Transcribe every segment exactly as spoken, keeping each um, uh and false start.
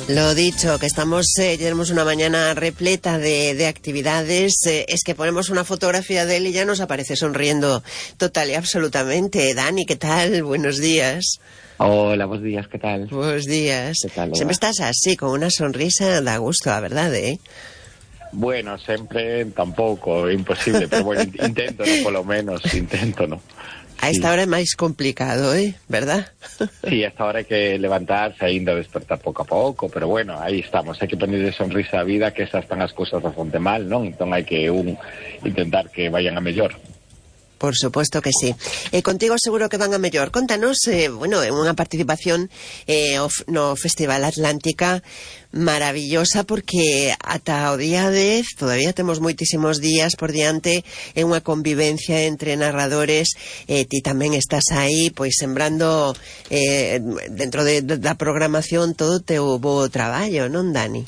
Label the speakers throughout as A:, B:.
A: Lo dicho, que estamos, eh, tenemos una mañana repleta de, de actividades. Eh, es que ponemos una fotografía de él y ya nos aparece sonriendo total y absolutamente. Dani, ¿qué tal? Buenos días.
B: Hola, buenos días, ¿qué tal?
A: Buenos días.
B: ¿Qué tal,
A: Siempre estás así, con una sonrisa, da gusto, la verdad, ¿eh?
B: Bueno, sempre tampouco, é imposible, pero bueno, intento, no, polo menos, intento, no.
A: A esta hora é máis complicado, ¿eh? ¿Verdad?
B: Sí, a esta hora hai que levantarse, ainda despertar pouco a pouco, pero bueno, aí estamos, hai que ponerle sonrisa á vida, que esas están as cousas bastante mal, non? Entón hai que un intentar que vayan a mellor.
A: Por supuesto que sí. Eh, contigo seguro que van a mellor. Contanos, eh, bueno, unha participación eh, no Festival Atlántica maravillosa, porque ata o día dez todavía temos moitísimos días por diante en unha convivencia entre narradores. Eh, ti tamén estás aí, pois sembrando eh, dentro de, de, da programación todo o teu bo traballo, non, Dani?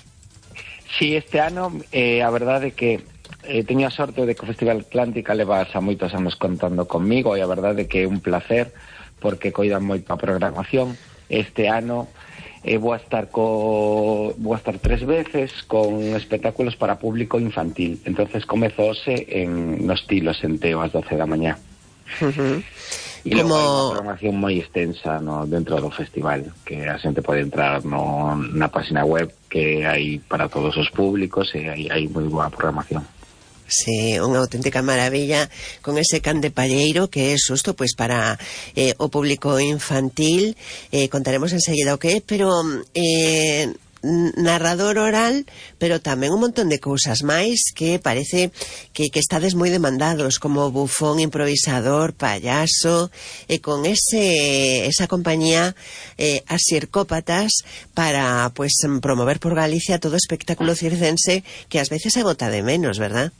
B: Sí, este ano, eh, a verdade é que Eh, teño a sorte de que o Festival Atlántica leva xa moitos anos contando conmigo, e a verdade é que é un placer porque coidan moito a programación. Este ano eh, vou a estar co vou a estar tres veces con espectáculos para público infantil. Entonces comezo hoxe en no estilo Senteo ás doce da mañá.
A: Uh-huh.
B: E logo hai unha programación moi extensa, no, dentro do festival, que a xente pode entrar no, na página web, que hai para todos os públicos, e hai, hai moi boa programación.
A: Sí, unha auténtica maravilla, con ese can de palleiro que é xusto pois para eh, o público infantil. Eh, contaremos enseguida o que é, pero eh, narrador oral, pero tamén un montón de cousas máis que parece que, que estades moi demandados, como bufón, improvisador, payaso, e con ese esa compañía eh, as Circópatas, para pues promover por Galicia todo o espectáculo circense que ás veces se bota de menos, verdad?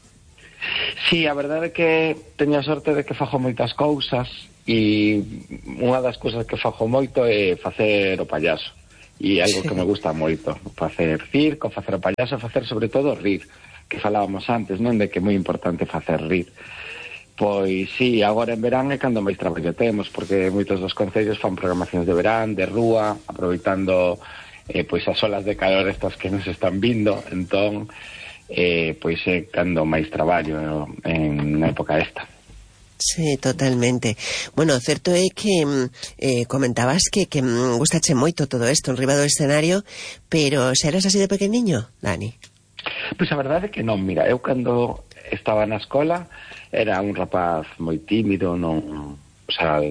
B: Sí, a verdade é que teño a sorte de que fago moitas cousas, e unha das cousas que fago moito é facer o payaso, e algo sí. que me gusta moito, facer circo, facer o payaso, facer sobre todo rir, que falábamos antes, non, de que é moi importante facer rir. Pois sí, agora en verán é cando máis traballo temos, porque moitos dos concellos fan programacións de verán, de rúa, aproveitando eh, pois as olas de calor estas que nos están vindo, entón eh, pois é cando máis traballo en na época esta.
A: Sí, totalmente. Bueno, certo é que eh, comentabas que, que gustache moito todo isto en riba do escenario, pero se eras así de pequeniño, Dani?
B: Pois a verdade é que non, mira, eu cando estaba na escola era un rapaz moi tímido, non, o sea,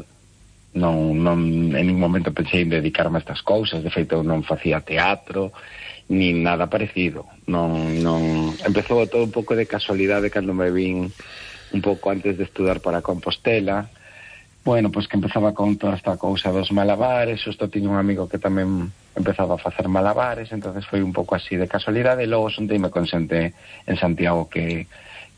B: non, non en ningún momento pensei en dedicarme a estas cousas, de feito eu non facía teatro, ni nada parecido, non, non, empezou todo un pouco de casualidade cando me vin un pouco antes de estudar para Compostela. Bueno, pois que empezaba con toda esta cousa dos malabares, xusto tiño un amigo que tamén empezaba a facer malabares, entonces foi un pouco así de casualidade, e logo xunteime con xente en Santiago que,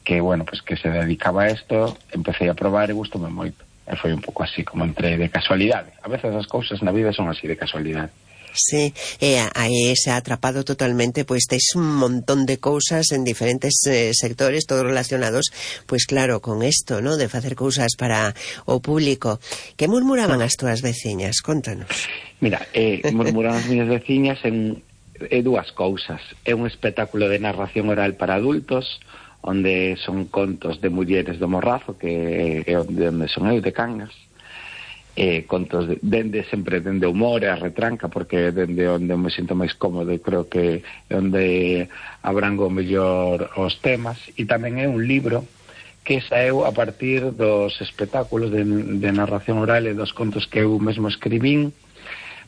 B: que bueno, pois que se dedicaba a isto, empecé a probar e gustoume moito, e foi un pouco así como entré de casualidade. A veces as cousas na vida son así de casualidade.
A: Sí, e aí se ha atrapado totalmente, pois tes un montón de cousas en diferentes eh, sectores, todos relacionados, pois claro, con isto, ¿no?, de facer cousas para o público. Que murmuraban as túas veciñas? Contanos.
B: Mira, eh, murmuraban as miñas veciñas en eh, dúas cousas. É un espectáculo de narración oral para adultos, onde son contos de mulleres do Morrazo, que é onde, onde son eu, de Cangas. Eh, contos de, dende sempre dende o humor e a retranca, porque dende onde me sinto máis cómodo, e creo que é onde abrango mellor os temas. E tamén é un libro que saeu a partir dos espectáculos de, de narración oral e dos contos que eu mesmo escribín.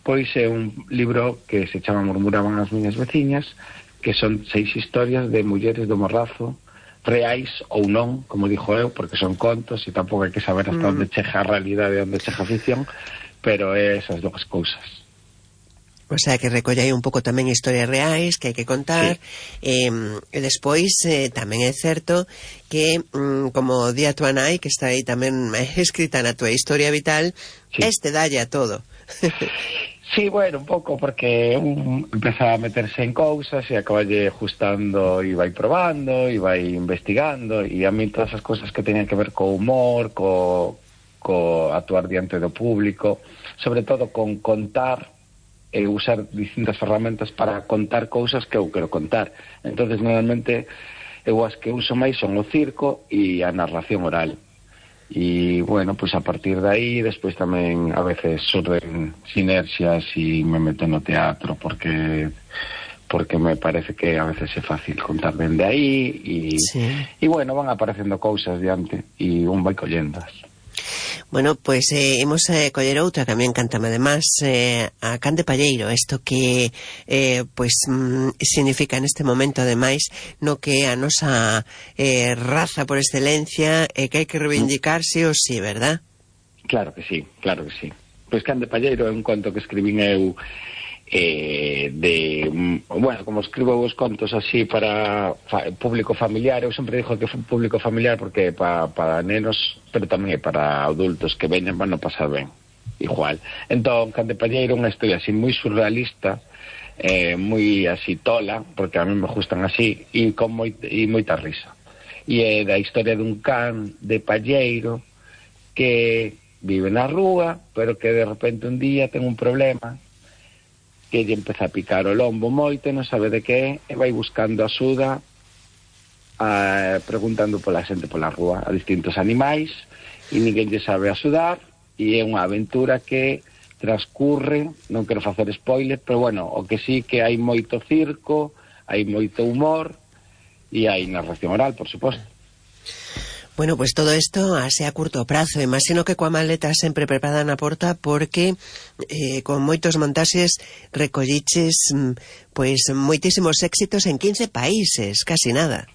B: Pois é un libro que se chama Murmuraban as miñas veciñas, que son seis historias de mulleres do Morrazo, reais ou non, como dixo eu, porque son contos e tampouco hai que saber hasta mm. onde chega a realidade e onde chega a ficción, pero é esas dúas cousas.
A: O sea, que recolle aí un pouco tamén historias reais que hai que contar, sí. eh, e despois eh, tamén é certo que, mm, como di a tua nai, que está aí tamén escrita na tua historia vital, sí. Este dalle a todo.
B: Sí, bueno, un pouco, porque un empeza a meterse en cousas e acaballe ajustando e vai probando e vai investigando, e a mí todas as cousas que teñan que ver co humor, co, co actuar diante do público, sobre todo con contar e usar distintas ferramentas para contar cousas que eu quero contar. Entonces normalmente eu as que uso máis son o circo e a narración oral. E, bueno, pues a partir de aí, despois tamén a veces surden sinerxias e me meto no teatro, porque porque me parece que a veces é fácil contar dende aí, e, sí. e bueno, van aparecendo cousas diante, e un vai collendas.
A: Bueno, pois pues, eh, imos eh, coller outra que a mí encantame además, eh, a can de palleiro, isto que eh, pois pues, mm, significa neste momento ademais no que a nosa eh, raza por excelencia e eh, que hai que reivindicarse o sí, verdad?
B: Claro que sí, claro que sí. Pois can de palleiro é un conto que escribín eu eh, de, bueno, como escribo os contos así para fa, público familiar, eu sempre digo que é un público familiar porque para pa nenos, pero tamén é para adultos que veñen van a pasar ben, igual. Entón, can de palleiro é unha historia así moi surrealista, eh, moi así tola, porque a mí me gustan así, e con moi, e moita risa. E é da historia dun can de palleiro que vive na rúa, pero que de repente un día ten un problema que lle empeza a picar o lombo moito, non sabe de que, e vai buscando axuda, a, preguntando pola xente pola rúa, a distintos animais, e ninguén lle sabe axudar, e é unha aventura que transcurre, non quero facer spoiler, pero bueno, o que sí que hai moito circo, hai moito humor, e hai narración oral, por suposto.
A: Bueno, pues todo isto así a curto prazo. Imagino que coa maleta sempre preparada na porta porque eh, con moitos montaxes recolliches pois moitísimos éxitos en quince países, casi nada.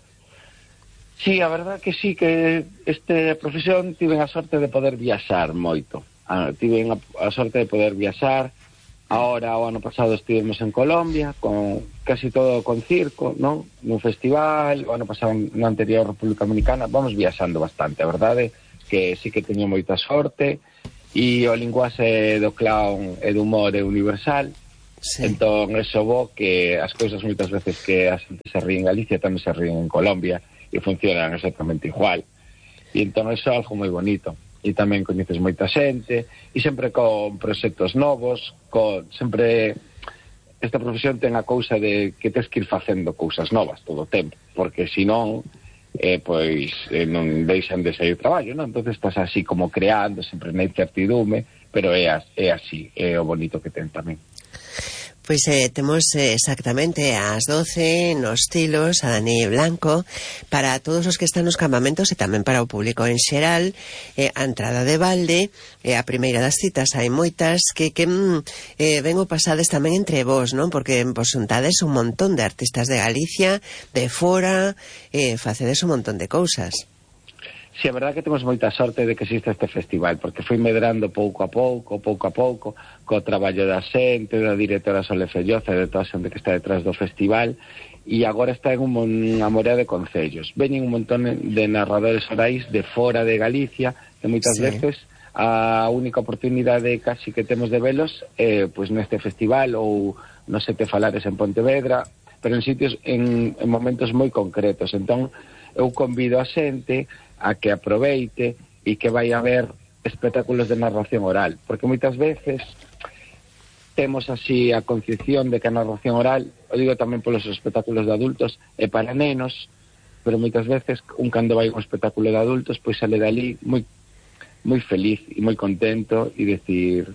B: Sí, a verdad que sí, que este profesión tive a sorte de poder viaxar moito. Ah, tive a, a sorte de poder viaxar. Ahora, o ano pasado estivemos en Colombia, con casi todo con circo, non? Nun festival, o ano pasado no anterior República Dominicana, vamos viaxando bastante, a verdade, que sí que teño moita sorte, e o linguaxe do clown e do humor é universal, sí. Entón, eso bo que as cousas moitas veces que a xente se ríe en Galicia tamén se ríen en Colombia, e funcionan exactamente igual. E entón, eso é algo moi bonito. E tamén coñeces moita xente, e sempre con proxectos novos, con sempre esta profesión ten a cousa de que tens que ir facendo cousas novas todo o tempo, porque senón eh, pois eh, non deixan de sair traballo, non? Entonces estás así como creando, sempre na incertidume, pero é, as, é así, é o bonito que ten tamén.
A: Pois eh, temos eh, exactamente ás doce nos Tilos a Dani Blanco para todos os que están nos campamentos e tamén para o público en xeral, eh, a entrada de balde, eh, a primeira das citas hai moitas que, que eh, vengo pasades tamén entre vos, non? Porque vos xuntades un montón de artistas de Galicia, de fora, eh, facedes un montón de cousas.
B: Si, sí, a verdade que temos moita sorte de que existe este festival, porque foi medrando pouco a pouco, pouco a pouco, co traballo da xente, da directora Sole Felloza e de toda a xente que está detrás do festival, e agora está en un, unha morea de concellos. Veñen un montón de narradores orais de fora de Galicia, que moitas sí. veces a única oportunidade casi que temos de velos é eh, pois neste festival ou no Sete Falares en Pontevedra, pero en sitios, en, en momentos moi concretos. Entón, eu convido a xente a que aproveite e que vai a ver espectáculos de narración oral, porque moitas veces temos así a concepción de que a narración oral, o digo tamén polos espectáculos de adultos, é para nenos, pero moitas veces un cando vai a un espectáculo de adultos pois sale dali moi moi feliz e moi contento e decir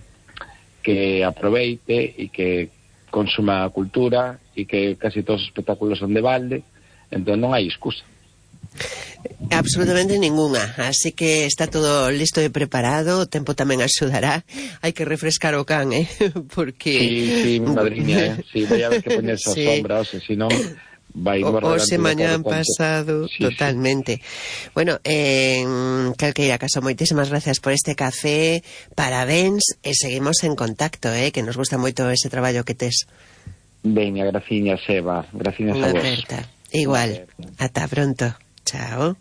B: que aproveite e que consuma a cultura e que casi todos os espectáculos son de balde, entón non hai excusa.
A: Absolutamente ninguna, así que está todo listo e preparado, o tempo tamén axudará, hai que refrescar o can, eh? Porque...
B: Sí, sí, mi madriña, eh? Sí, vai haber que ponerse sí. a sombra, o se si non vai
A: o, o se mañán pasado, sí, totalmente. Sí. Bueno, eh, calqueira caso, moitísimas gracias por este café, parabéns, e seguimos en contacto, eh? Que nos gusta moito ese traballo que tes.
B: Veña, graciñas, Eva, graciñas a vos.
A: Igual, ata pronto. Chao.